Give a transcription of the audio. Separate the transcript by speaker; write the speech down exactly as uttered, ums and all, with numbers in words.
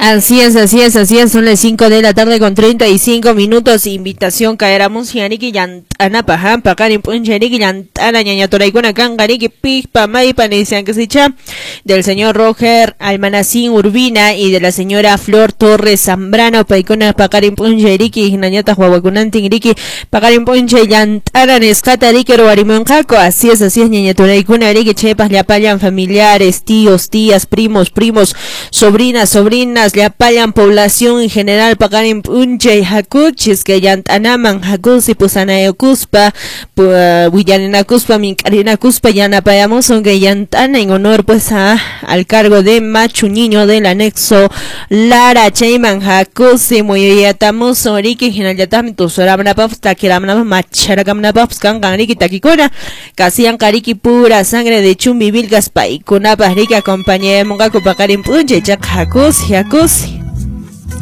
Speaker 1: Así es, así es, así es, son las cinco de la tarde con treinta y cinco minutos. Invitación caeramos yaniki llant'anapaq, ha, paqarin p'unchay llant'ana ñañaturaykuna kanqa riki piqpa maypa nisiankasicha del señor Roger Almanacín Urbina y de la señora Flor Torres Zambrano, paykuna paqarin p'unchay riki hinañataq wawakunantin riki paqarin p'unchay llant'ana nisqata riki ruwarimunqaku. Así es, así es, ñañaturaykuna riki chaypaq llapallan familiares, tíos, tías, primos, primos, sobrinas, sobrinas, llapallan población en general paqarin p'unchay hakuchis que llant'anaman hakusi pusanayukuspa willarinakuspa mink'arinakuspa yanapayamusun que llant'ana en honor pues a, al cargo de Machu Niño del anexo Lara chayman hakusi muyuyatamusun riki hinallataqmi tusuramnapaqpas takiramunapaq macharakamnapaqpas kanqan riki takikuna kasiyanqa riki pura sangre de Chumbivilcas paykunapaq riki acompañayamunqaku paqarin p'unchay chaqa hakusi hakusi.